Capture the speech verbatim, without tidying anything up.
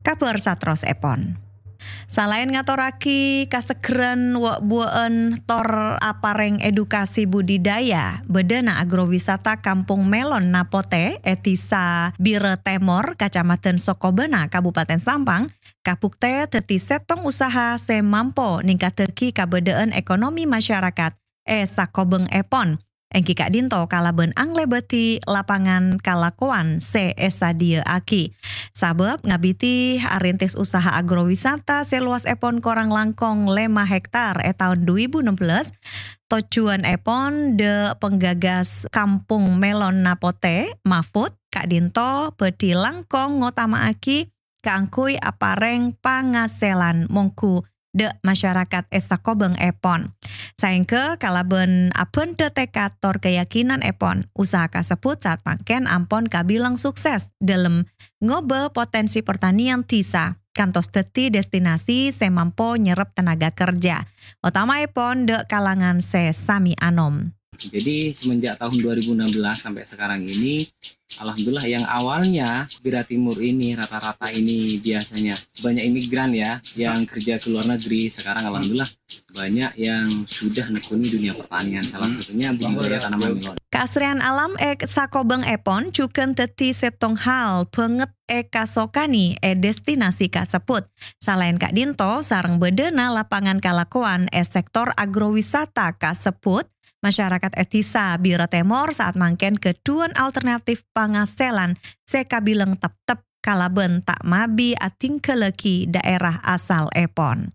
Kabhâr saterrossèpon. Salaèn ngatorraghi kasegghârân wâ'-buwâ'ân tor aparèng edukasi budidaya, bâdâna agrowisata Kampung Melon Napotè è Dhisa Bira Tèmor, Kacamadhân Sokobânah, Kabupaten Sampang, kabhuktè dhâddhi sèttong usaha sè mampo ningkaddhâghi kabâdâ'ân ekonomi masyarakat è sakobhângngèpon, èngghi ka'dinto kalabân anglèbâdhi lapangan kalakowan sè èsadhiyâ'aghi. Sabâb ngabidhi arintis usaha agrowisata sè lowasèpon korang langkong lèma hektar è taon du èbu ennem bellâs, tojjhuwânèpon dâ' penggagas Kampung Melon Napotè, Mahfud, ka'dinto bhâdhi langkong ngotama'aghi kaangghuy aparèng pangasèlan mongghu dâ' masyarakat è sakobhângngèpon. Saèngghâ kalabân abhândhâ tèkad tor kayakinanèpon, usaha kasebbhut saat mangkèn ampon kabilang sukses dâlem ngobâ potènsi pertanian dhisa kantos dhâddhi destinasi sè mampo nyerrep tenaga kerja, otamaèpon dâ' kalangan sè sami anom. Jadi, semenjak tahun dua ribu enam belas sampai sekarang ini, alhamdulillah, yang awalnya Bira Timur ini rata-rata ini biasanya banyak imigran ya, yang kerja ke luar negeri, sekarang alhamdulillah banyak yang sudah nekuni dunia pertanian, salah satunya budidaya tanaman melon. Kaasrèyan alam è sakobhângngèpon jhughân dhâddhi sèttong hal bhânget èkasokanè è destinasi kasebbhut. Salaèn ka'dinto, sareng bâdâna lapangan kalakowan è sektor agrowisata kasebbhut, masyarakat è Dhisa Bira Tèmor saat mangkèn ghâdhuwân alternatif pangasèlan sè kabilang teptep kalabân ta' mabi adhingghâllâghi dhaèra asalèpon.